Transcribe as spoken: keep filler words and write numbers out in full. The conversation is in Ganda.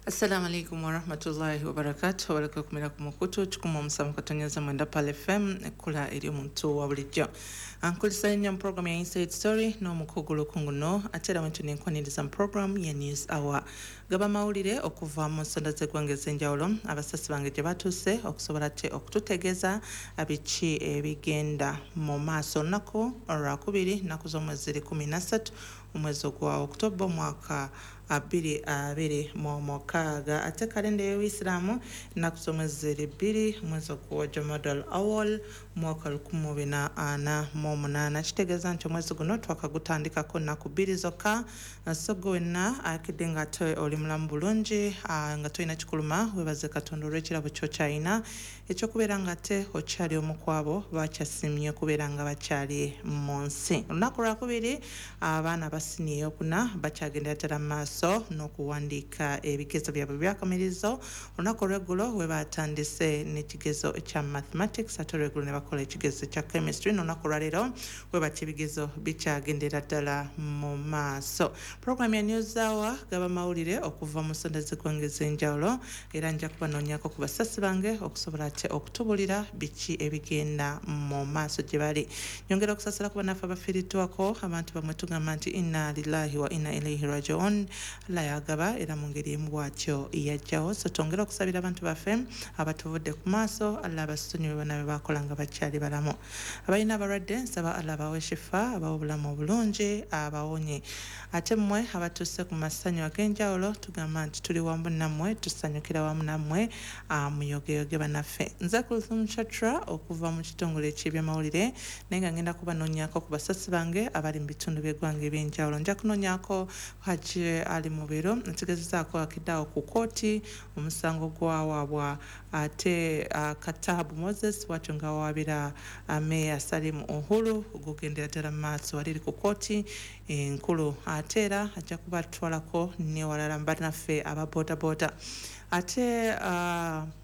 Assalamu alaikum warahmatullahi wabarakatu. Abaleka okumira ku mukutu kikumi omusanvu katonyeza mwenda Pal F M, ekkula eri omuntu wa bulijjo. Nkulisa nnyo mu program ya Inside Story n'omukugu Lukunguno, ate era wentu nenkwaniriza mu program ya News Hour. Gaba mawulire okuva mu nsonda z'eggwanga ez'enjawulo, abasasi bange gye batuuse okusobola ate okututegeeza biki ebigenda mu maaso. Olunaku olwakubiri, nnaku z'omwezi ziri kumi na ssatu, omwezi ogwa Okutoba, omwaka abiri abiri mu mukaaga, ate kalenda y'Obuyisiraamu ennaku z'omwezi ziri bbiri, omwezi ogwa Jamadal Awal, mwaka lukumi bina ana mu munaana. Kitegeeza nti omwezi guno twakagutandikako nnaku bbiri zokka. So gwe wenna akedde nga ate oli mulamu bulungi, nga tolina kikuluma, webaze Katonda olw'ekirabo kyokyalina ekyokubeera nga ate okyali omu ku abo bakyasimye okubeera nga bakyali mu nsi. Olunaku lwakubiri, abaana ba siniya eyokuna bakyagendera ddala mu maaso n'okuwandiika ebigezo byabwe byakamirizo. Olunaku olweggulo we batandise n'ekigezo ekya mathematics, ate olweggulo ne bakola ekigezo ekya chemistry. N'olunaku olwaleero we batya ebigezo bikyagendera ddala mu maaso. Program ya News Hour, gaba mawulire okuva mu nsonda z'eggwanga ez'enjawulo, era nja kubanoonyako ku basasi bange okusobola ate okutubulira biki ebigenda mu maaso gye bali. Nyongera okusasira ku bannaffe abafiiriddwako abantu bamwe. Tugamba nti inna lillahi wa inna ilaihi rajiun. Allah yagaba, era mu ngeri emu bw'atyo yajjawo. So twongere okusabira abantu baffe abatuvudde ku maaso, Allah abasonyiwe bonna be bakola nga bakyali balamu. Abalina abalwadde, nsaba Allah abawe shifa, abawe obulamu obulungi, abawonye. Ate mmwe abatuuse ku masanyu ag'enjawulo, tugamba nti tuli wamu nammwe, tusanyukira wamu nammwe, muyogeyoge bannaffe. Nze Kulthum Chatra okuva mu kitongole eky'ebyamawulire, naye nga ngenda kubanoonyako ku basasi bange abali mu bitundu by'eggwanga ebyenjawulo. Nja kunoonyako Haji Ali Mubiro, ntegezezaako akiddeawo ku kooti omusango gwawaabwa ate uh, Katabu Moses bwatyo nga wawaabira uh, Meeya Salim Uhuru, gugendera ddala mu maaso waliri ku kooti enkulu. Ate era ajja kuba tutwalako newalala bannaffe aba bodaboda ate uh,